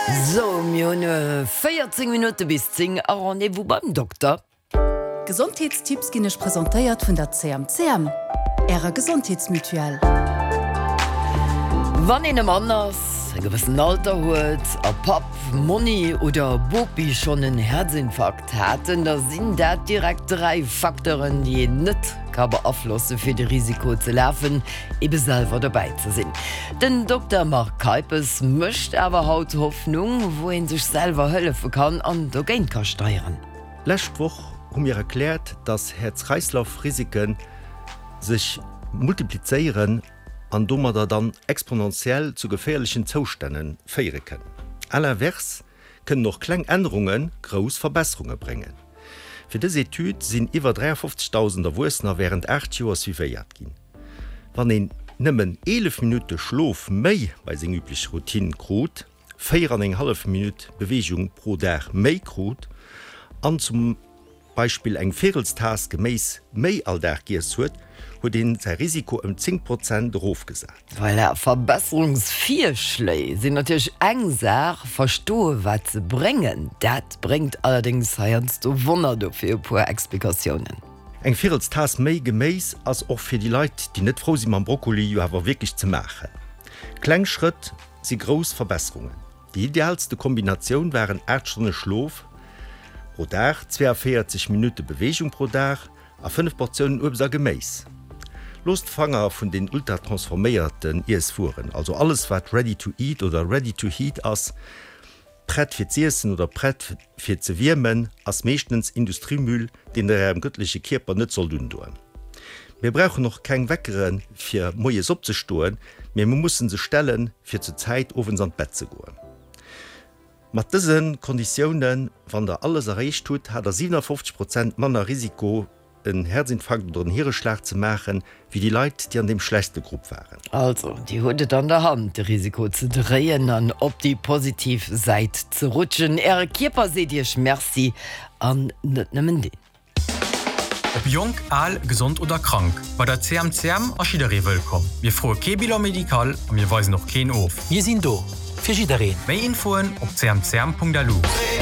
Sou, mir hunn 14 Minutte bis 10 a Rendez-vous beim Dokter. D'Gesondheetstipps ginn Iech presentéiert vun der CMCM, Ärer Gesondheetsmutuelle. Wann een e Mann ass, e gewëssen Alter huet a Papp, Monni oder Bopi schonn en Häerzinfarkt haten, da sinn dat direkt 3 Facteuren, déi een net ka beaflosse fir de Risiko ze lafen, ebe selwer dobäi ze sinn. Den Dokter Marc Keipes mécht awer haut Hoffnung, wou ee sech selwer hëllefe kann an dogéint ka steieren. Lescht Woch hu mir erkläert, dass Häerz-Kreislauf-Risiken sech multiplizéieren an domadder dann exponentiell zu geféierlechen Zoustänne féiere kënnen. À l'inverse kënnen och kleng Ännerunge grouss Verbesserunge bréngen. Fir dës Etüd sinn iwwer 53.000 Erwuessener wärend 8 Joer suivéiert ginn. Wann een nëmmen 11 Minutte Schlof méi bei seng üblech Routine krut, 4 an eng hallef Minutt Beweegung pro Dag méi krut an zum Beispill eng Véirelstaass Geméis méi all Dag giess huet, huet een säi Risiko ëm 10 Prozent erofgesat. Voilà, Verbesserungsvirschléi sinn natierlech eng Saach, verstoe wat se bréngen, dat bréngt allerdéngs heiansdo Wonner. Dofir e puer Explikatiounen. Eng Virelstaass méi Geméis ass och fir déi Leit, déi net frou si mam Brokkoli, jo awer wierklech ze maachen. Kleng Schrëtt si grouss Verbesserungen. Déi idealste Kombinatioun waren 8 Stonne Schlof pro Dag, 42 Minutte Beweegung pro Dag a 5 Portiounen Uebst a Geméis. Loosst d'Fanger vun den ultratransforméierten Iesswueren, also alles wat ready to eat oder ready to heat ass. Prett fir z'iessen oder prett fir ze wiermen ass meeschtens Industriemüll, deen der ärem gëttleche Kierper net sollt undoen. Mir brauchen och keng Weckere fir moies opzestoen, mee mir mussen se stellen fir zur Zäit owends an d'Bett ze goen. Mat dëse Konditiounen, wann der alles erreecht hutt, hat der 57 Prozent manner Risiko en Herzinfarkt oder en Hireschlag ze maachen, wéi déi Leit, déi an deem schlechtste Grupp waren. Also, Dir hutt et an der Hand, de Risiko ze dréien an op déi positiv Säit ze rutschen. Äre Kierper seet Iech Merci, an net nëmmen deen. Ob jonk, al, gesond oder krank, bei der CMCM ass jidderee wëllkomm. Mir froe kee Bilan médical a mir weisen och keen of. Mir sinn do fir jiddereen. Méi Infoen op cmcm.lu.